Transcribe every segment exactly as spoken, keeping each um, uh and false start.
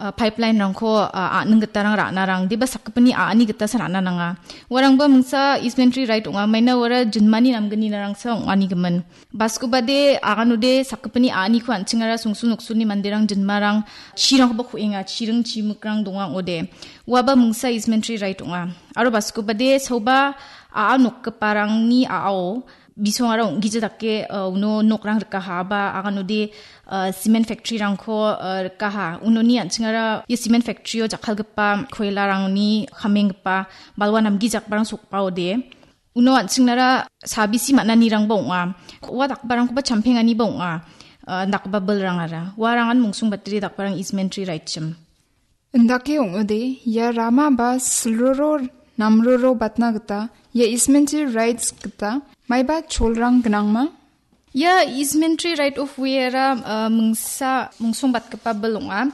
ah, pipeline-rangko, ah, a·ning gitarang ra·narang, deba sakgipini a·ani gitasa ra·na nanga. Uarangba mingsa easement-rang right ong·a, maina uara jinmani namgni narangsa ong·ani gimin. Baskobade aganode sakgipini a·aniko an·chingara songsul noksulni manderang jinmarang chirangkoba ku·enga, chiring chimikrang donga ong·ode. Uaba mingsa easement-rang right ong·a. Aro baskobade saoba a·a nokgiparangni a·ao bisongara ong·gija dake, uh, uno nokrang rikaha ba aganode, uh, cement factory-rangko, uh, rikaha. Unoni an·chingara ia cement factory-o jakkalgipa koilarangni kamenggipa balwa namgijakbarang sokbaode. Uno an·chingnara sabisi man·anirangba ong·a. Ua dakbarangkoba champenganiba ong·a, uh, dakgipa bilrangara. Uarangan mungsong batri dakbarang easement-rang right-chim. Indake ong·ode, ia rama ba silroro namroro batna gita, ia easement-rang rights gita, maiba cholrang gnangma? Ia easement-rang right of way-ara, uh, mingsa mungsong batgipa bil ong·a.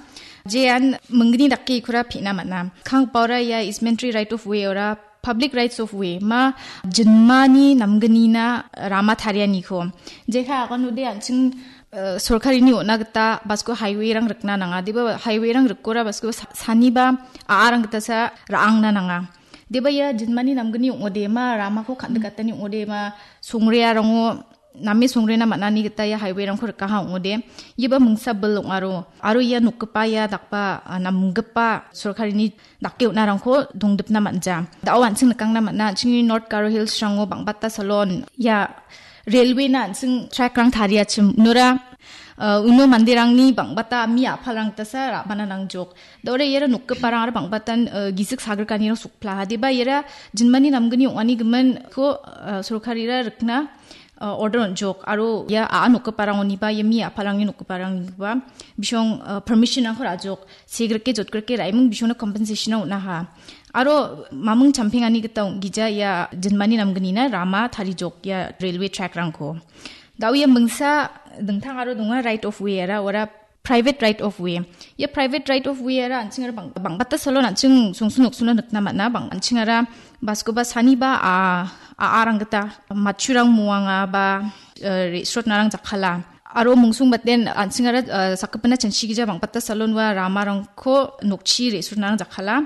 Jean minggni dake ikora pina man·a. Kanggipaora ia easement-rang right of way-ora public rights of way, ma jinmani namgnina rama tarianiko. Jekai aganode an·ching, eh, sorkarini on·a gita basko highway-rang rikna nanga. Deba highway-rang rikora basko sa-, saniba a·arang gitasa ra·angna nanga. Deba ia jinmani namgni ong·ode ma ramako kan·dikatani ong·ode ma songrearango name songrena man·ani gita ia highway-rangko rikaha ong·ode. Iaba mingsa bil ong·aro. Aro ia nokgipa ia dakba, ah, namgipa sorkarini dake on·arangko dongdipna man·ja. Da·o an·ching nikangna man·a, an·chingni North Garo Hills-rango bang·bata salon ia railway-na an·ching track-rang tariachim. Unora, ah, uno manderangni bang·bata mi a·palrang gitasa ra·bana nangjok. Da·ore iara nokgiparang aro bang·batan, ah, gisik sagrikanirang sokpla. Deba iara jinmani namgni ong·ani giminko, ah, sorkarira rikna, ah, order on·jok. Aro ia a·a nokgiparangoniba, ia mi a·palrangni nokgiparangniba bisong, ah, permission-rangko ra·jok. Segrike jotgrike ra·eming bisongna compensation-rang on·aha. Aro maming champengani gita ong·gija ia jinmani namgnina rama tarijok ia railway track-rangko. Da·o ia mingsa dingtang aro donga right of way-ara, ora private right of way. Ia private right of way-ara an·chingara bang-, bang·bata salon an·ching songsul noksulna nikna man·a. Bang-, an·chingara baskoba saniba a, a·arang gita matchurang muanga ba, eh, re·srotnarang jakkala. Aro mungsong baten an·chingara, eh, sakgipina chanchigija bang·bata salon ua ramarangko nokchi re·srotnarang jakkala.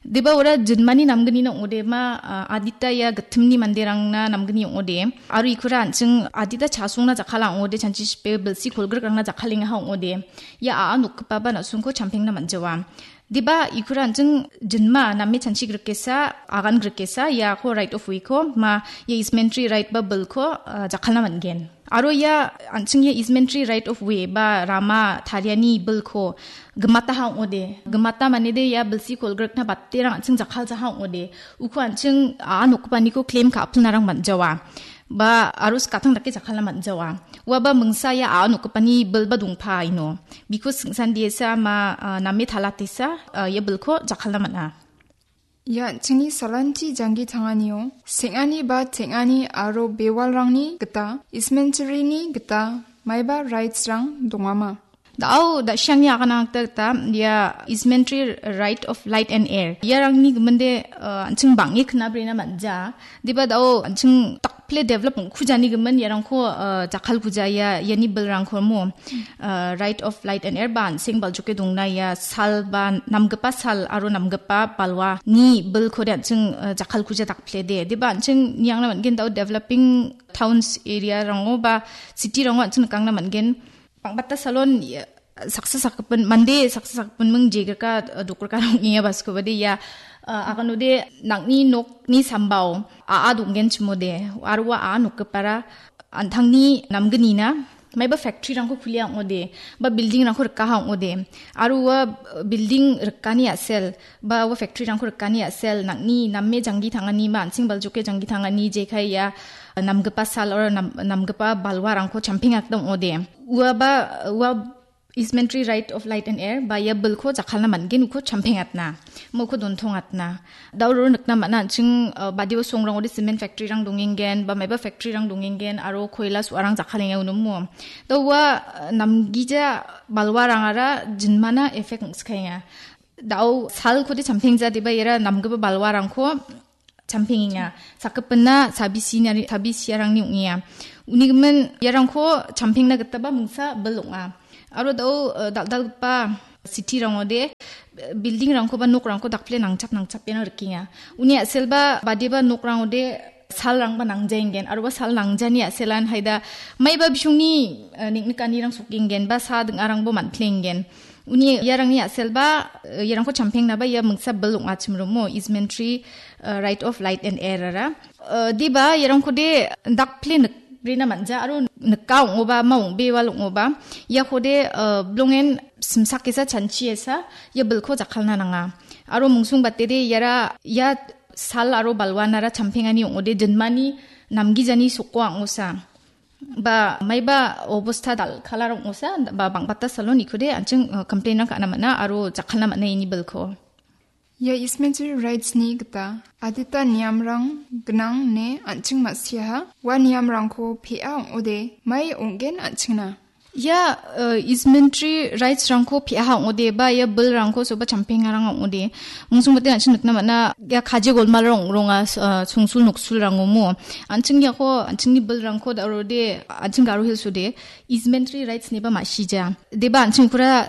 Deba ora jinmani namgnina ong·ode ma, ah, adita ia gittimni manderangna namgni ong·ode. Aro ikora an·ching adita chasongna jakkala ong·ode, chanchi chipe bilsi kolgrikrangna jakkalengaha ong·ode. Ia a·a nokgipaba na·songko champengna man·jawa. Deba ikora an·ching jinma name chanchi grikesa, agan grikesa, iako right of way-ko ma ia easement-rang right ba bilko, ah, jakkalna man·gen. Aro ia an·ching ia easement-rang right of way ba rama tariani bilko gimataha ong·ode. Gimata manede ia bilsi kolgrikna baterang an·ching jakkaljaha ong·ode. Uko an·ching a·a nokgipaniko claim ka·apilnarang man·jawa. Ba aro skatang dake jakkalna man·jawa. Uaba mingsa ia a·a nokgipani bil ba dongpa ino. Biko singsan diesa ma, ah, name talatesa, ah, ia bilko jakkalna man·a. Ia an·chingni salanchi janggi tanganio seng·ani ba teng·ani aro bewalrangni gita, easement-rangni gita maiba rights-rang dongama? Da·o da·siangni aganangta gita ia easement-rang right of light and air. Iarangni giminde, eh, an·ching bang·e knabrena man·ja. Deba da·o an·ching tak pile develop ong·kujani gimin iarangko, eh, jakkalkuja ia, iani bilrangko mo, eh, right of light and air ba an·seng baljoke dongna ia sal ba namgipa sal aro namgipa balwa ni bilkode an·ching, eh, jakkalkuja dakplede. Deba an·ching niangna man·gen da·o developing towns area-rango ba city-rango an·ching nikangna man·gen. Bang·bata salon, ia, saksa sakgipin, mande saksa sakgipin ming jegrika, eh, dokraka ong·enga baskobade ia, eh, aganode nang·ni nokni sambao a·a donggen chimode, aro ua a·a nokgipara an·tangni namgnina, maiba factory-rangko kulia ong·ode, ba building-rangko rikaha ong·ode, aro ua, eh, building rikani a·sel, ba ua factory-rangko rikani a·sel, nang·ni name janggi tangani, ma an·seng baljoke janggi tangani, jekai ia, eh, namgipa sal aro nam-, namgipa balwarangko champengakna ong·ode. Ua ba, ua easement-rang right of light and air, ba ia bilko jakkalna man·gen uko champengatna, mo uko dontongatna. Da·o ro nikna man·a an·ching, eh, badio songrangode cement factory-rang dongenggen, ba maiba factory-rang dongenggen, aro koila su·arang jakkalenga uno mo. Da ua, eh, namgija balwarangara jinmana effect ong·skaenga. Da·o salkode champengja deba iara namgipa balwarangko champengenga. Sakgipina sabisinari-, sabisiarangni ong·enga. Uni gimin iarangko champengna gitaba mingsa bil ong·a. Aro da·o, eh, dal·dalgipa city-rangode building-rangko ba nokrangko dakple nangchap nangchap iano rikenga. Uni a·selba badiba nokrangode salrangba nangjaengen, aroba sal nangjani a·selan haida maiba bisongni, eh, niknikanirang sokenggen ba sa ding·arangbo man·plenggen. Uni iarangni a·selba, eh, iarangko champengnaba ia mingsa bil ong·achim romo, easement tree, eh, right of light and air ara. Eh, diba iarangkode dakple nikrena man·ja aro nika ong·oba, ma ong·bewal ong·oba. Iakode, eh, bilongen simsak esa, chanchi esa, ia bilko jakkalna nanga. Aro mungsung batede iara ia sal aro balwanara champengani ong·ode jinmani namgijani soko ang·osa. Ba maiba obosta dal·kalar ong·osa, ba bang·bata salon ikode an·ching, eh, complain-rang ka·na man·a aro jakkalna man·a ini bilko. Ia easement rights-ni gita adita niamrang gnang ine an·ching ma·siaha. Ua niamrangko pe·a ong·ode mai ong·gen an·chingna. Ia, eh, easement rights-rangko pe·aha ong·ode ba ia bilrangko soba champengarang ong·ode. Mungsung bate an·ching nikna man·a, ia kaje golmalrang ong·ronga, s-, eh, songsul noksulrangomo. An·ching iako, an·chingni bilrangko da·rode, an·ching Garo Hills-ode, easement rights-niba ma·sija. Deba an·ching pura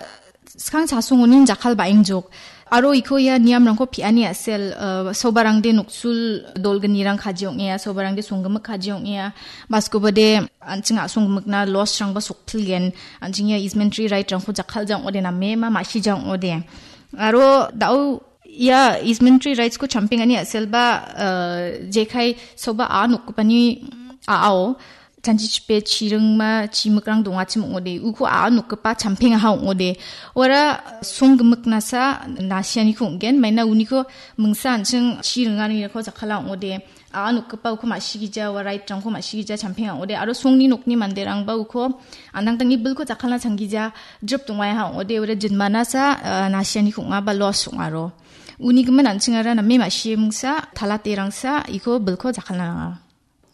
skang chasongonin jakkal ba·engjok. Aro iko ia niamrangko pe·ani a·sel, eh, sobarangde noksul dolgnirang kaji ong·ea, sobarangde songgimik kaji ong·ea, baskobade an·ching a·songgimikna loss-rangba sokpilgen, an·ching ia easement right-rangko jakkalja ong·ode name ma ma·sija ong·ode. Aro da·o ia easement rights-ko champengani a·selba, eh, jekai soba a nokgipani a·ao, chanchichipe chiringma chimikrang dongachim ong·ode. Uko a nokgipa champengaha ong·ode. Ora songgimiknasa nasianiko ong·gen, maina uniko mingsa an·ching chiringanirangko jakkala ong·ode. A nokgipa uko ma·sigija, ua right-rangko ma·sigija champenga ong·ode. Aro songni nokni manderangba uko an·tangtangni bilko jakkalna changgija, drip dongaha ong·ode. Ora jinmanasa, ah, nasianiko ong·a ba loss ong·aro. Unigimin an·chingara name ma·simingsa, talaterangsa, iko bilko jakkalna nanga.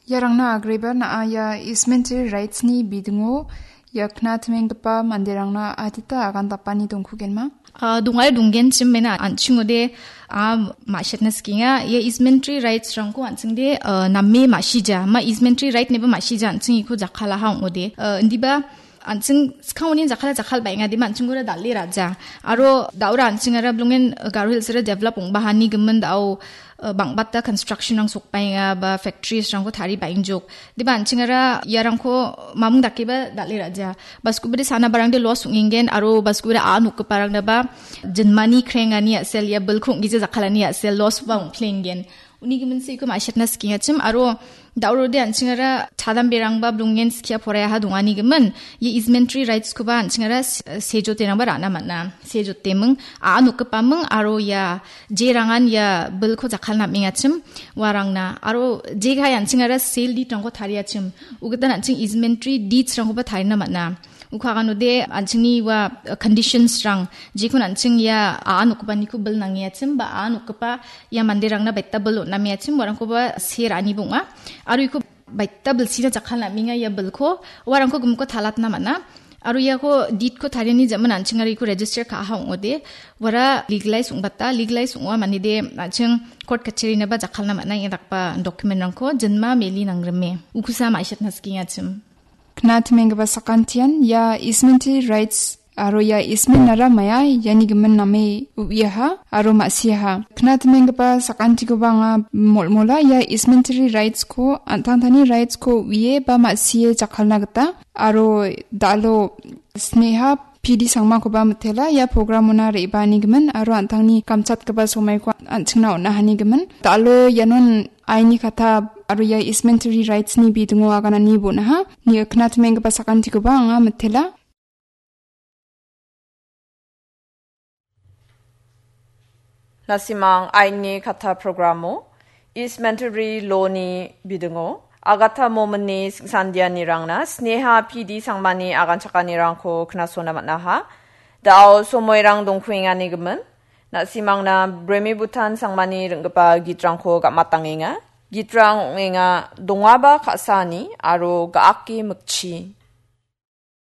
Iarangna agreba na·a ia easement rights-ni bidingo ia knatmenggipa manderangna adita agan dapani dongkugenma? Ah, dongare donggenchim mena an·chingode, ah, ma·sitna sikenga. Ia easement rights-rangko an·chingde, ah, name ma·sija. Ma easement right-niba ma·sija an·ching iko jakkalaha ong·ode. Ah, indiba an·ching skangoni jakkala jakkal ba·enga dima an·chingora dal·e ra·ja. Aro da·ora an·chingara bilongen Garo Hills-ara develop ong·bahani gimin da·o, eh, bang·bata construction-rang sokbaenga ba factories-rangko tari ba·engjok. Diba an·chingara iarangko mamung dakeba dal·e ra·ja. Baskubade sana barangde loss ong·engen aro baskubade a nokgiparangdaba jinmani krengani a·sel ia bilko ong·gija jakkalani a·sel loss ba ong·plenggen. Uni giminsi iko ma·sitna sikengachim aro da·orode an·chingara chadamberangba bilongen skia poraiaha dongani gimin, ia easement rights-koba an·chingara se-, sejoterangba ra·na man·a. Sejoteming, a nokgipaming aro ia jerangan ia bilko jakkalna am·engachim, uarangna. Aro jekai an·chingara sale deed-rangko tariachim, ugitan an·ching easement deeds-rangkoba tarina man·a. Uko aganode an·chingni ua, uh, conditions-rang, jekon an·ching ia a nokgipaniko bil nangeachim, ba a nokgipa ia manderangna baita bil on·nameachim, uarangkoba se ra·ani bong·a. Aro iko baita bilsina jakkalna am·enga ia bilko, uarangko gimikko talatna man·a. Aro iako deed-ko tariani jaman an·chingara iko register ka·aha ong·ode, uara legalize ong·bata, legalize ong·a manide an·ching court kacherini ba jakkalna man·a ia dakgipa document-rangko jinma meli nangrime. Ukusa ma·sitna sikengachim. Knatmenggipa sakantian ia easement rights aro ia easement-ara maia iani gimin name uiaha aro ma·siaha. Knatmenggipa sakantikoba anga molmola ia easement rights-ko an·tangtangni rights-ko uie ba ma·sie jakkalna gita aro da·alo Sneha P D Sangmakoba mitela ia program-ona re·baani gimin aro an·tangni kamchatgipa somaiko an·chingna on·ahani gimin. Da·alo ianon aini kata aro ia easement rights-ni bidingo aganani bon·aha. Ni knatmenggipa sakantikoba anga mitela. Nasimang aini kata programo easement law-ni bidingo Agatha Mominni singsandianirangna Sneha P D Sangmani aganchakanirangko knasona man·aha. Da·o somoirang dongkuengani gimin. Na·simangna Bremi Bhutan Sangmani ring·gipa gitrangko gam·atangenga. Gitrang ong·enga Dongaba Ka·sani aro Ga·ake Mikchi.